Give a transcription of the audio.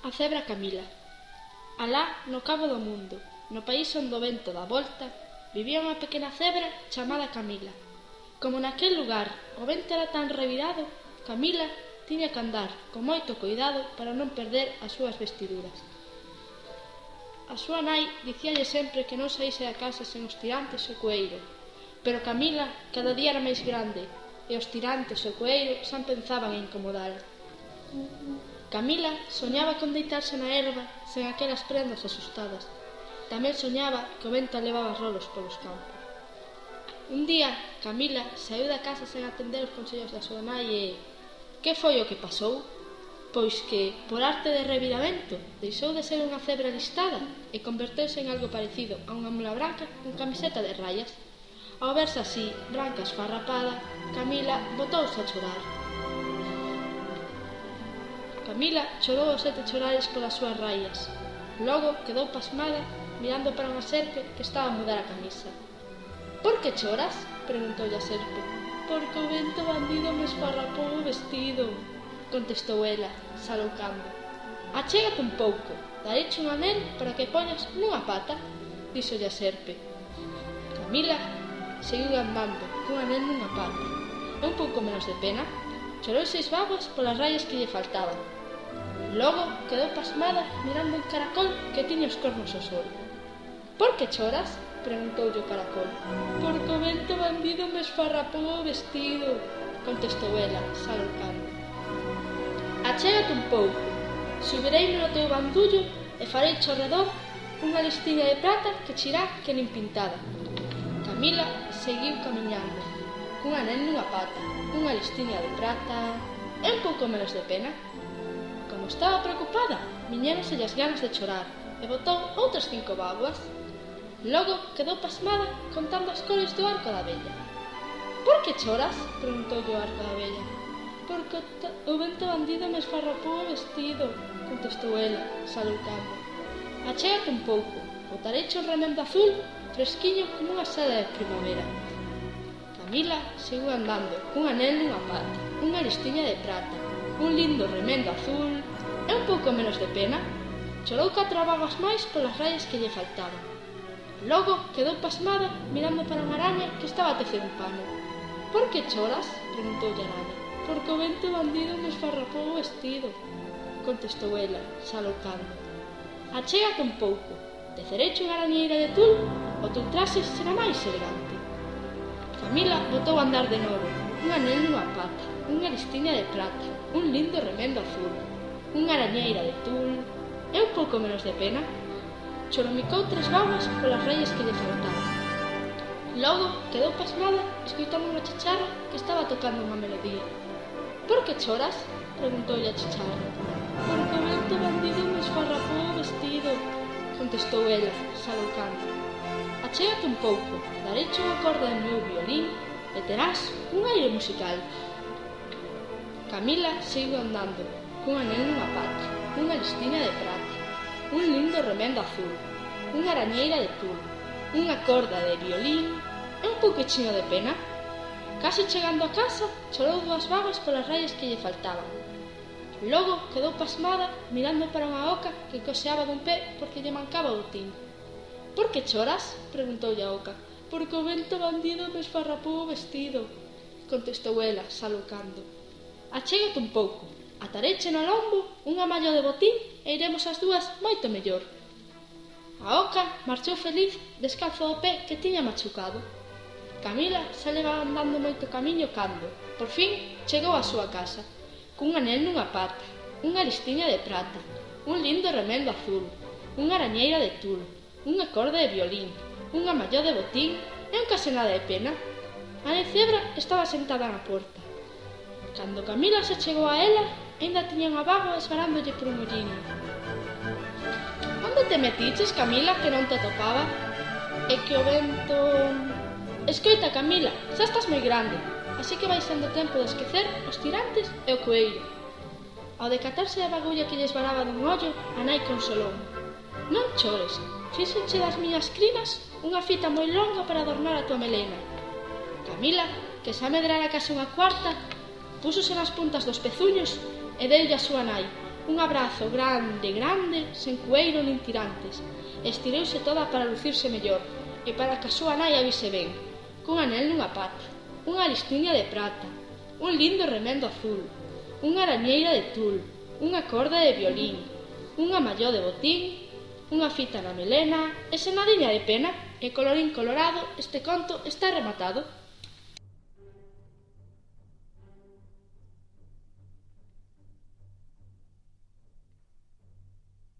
A cebra Camila. Alá no cabo do mundo, no país onde o vento dá volta, vivía unha pequena cebra chamada Camila. Como naquel lugar o vento era tan revirado, Camila tiña que andar con moito cuidado para non perder as súas vestiduras. A súa nai dicíalle sempre que non saíse da casa sen os tirantes e o coeiro, pero Camila cada día era máis grande e os tirantes e o coeiro xa pensaban en incomodala. Camila soñaba con deitarse na herba sen aquelas prendas asustadas. Tamén soñaba que o vento levaba rolos polos campos. Un día, Camila saiu da casa sen atender os consellos da súa nai e... que foi o que pasou? Pois que, por arte de reviramento, deixou de ser unha cebra listada e converteuse en algo parecido a unha mula branca con camiseta de rayas. Ao verse así, branca esfarrapada, Camila botouse a chorar. Camila chorou os 7 chorares polas súas raias. Logo quedou pasmada mirando para unha serpe que estaba a mudar a camisa. «Por que choras?», preguntoulle a serpe. «Porque o vento bandido me esfarrapou o vestido», contestou ela, saloucando. «Achégate un pouco, dareche un anel para que poñas nunha pata», díxolle a serpe. Camila seguiu andando cun anel nunha pata e un pouco menos de pena chorou 6 vaguas polas raias que lle faltaban. Logo quedou pasmada mirando un caracol que tiña os cornos ao sol. «Por que choras?», preguntoulle o caracol. «Porque o vento bandido me esfarrapou o vestido», contestou ela, saloucando. «Achégate un pouco, subireime no teu bandullo e farei ao redor unha listiña de prata que chirá que nin pintada». Camila seguiu camiñando, cun anel nunha pata, unha listiña de prata e un pouco menos de pena. Como estaba preocupada, viñéronselle as ganas de chorar e botou outras 5 vaguas. Logo quedou pasmada contando as cores do arco da vella. «Por que choras?», preguntoulle o arco da vella. «Porque o vento bandido me esfarrapou o vestido», contestou ela, saloucando. «Achégate un pouco, botareche un remendo azul fresquiño como unha seda de primavera». Camila seguiu andando cun anel nunha pata, unha listiña de prata, un lindo remendo azul e un pouco menos de pena. Chorou 4 vagas máis polas raias que lle faltaban. Logo quedou pasmada mirando para unha araña que estaba a tecer un pano. «Por que choras?», preguntoulle a araña. «Porque o vento bandido me esfarrapou o vestido», contestou ela, saloucando. «Achégate un pouco, tecereche unha arañeira de tul, o teu traxe será máis elegante». Camila botou a andar de novo, un anel nunha pata, unha listiña de prata, un lindo remendo azul, unha arañeira de tul e un pouco menos de pena. Choromicou 3 vagas polas raias que lle faltaban. Logo quedou pasmada escoitando unha chicharra que estaba tocando unha melodía. «Por que choras?», preguntoulle a chicharra. «Porque o vento bandido me esfarrapou o vestido», contestou ela, saloucando. «Achégate un pouco, dareche unha corda do meu violín e terás un aire musical». Camila seguiu andando, cun anel nunha pata, unha listiña de prata, un lindo remendo azul, unha arañeira de tul, unha corda de violín e un pouquichiño de pena. Case chegando a casa, chorou 2 vagas polas raias que lle faltaban. Logo quedou pasmada mirando para unha oca que coxeaba dun pé porque lle mancaba o botín. «Por que choras?», preguntoulle a oca. «Porque o vento bandido me esfarrapou o vestido», contestou ela, saloucando. «Achégate un pouco, atareche no lombo unha malla de botín e iremos as dúas moito mellor». A oca marchou feliz descalzo do pé que tiña machucado. Camila xa levaba andando moito camiño cando, por fin, chegou á súa casa, cun anel nunha pata, unha listiña de prata, un lindo remendo azul, unha arañeira de tul, unha corda de violín, unha malla de botín e un case nada de pena. A de cebra estaba sentada na porta. Cando Camila se chegou a ela, aínda tiña unha vaga esvarándolle por un olliño. «Onde te metiches, Camila, que non te atopaba?» «É que o vento...» «Escoita, Camila, xa estás moi grande, así que vai sendo tempo de esquecer os tirantes e o coeiro». Ao decatarse da bagulla que lle esvaraba dun ollo, a nai consolou. «Non chores, fíxenche das miñas crinas unha fita moi longa para adornar a tua melena». Camila, que xa medrara case unha cuarta, púsose nas puntas dos pezuños e deulle a súa nai, un abrazo grande, grande, sen cueiro nin tirantes, e estireuse toda para lucirse mellor, e para que a súa nai a vise ben, cun anel nunha pata, unha listiña de prata, un lindo remendo azul, unha arañeira de tul, unha corda de violín, unha malló de botín, unha fita na melena, e sen nadiña de pena, e colorín colorado, este conto está rematado.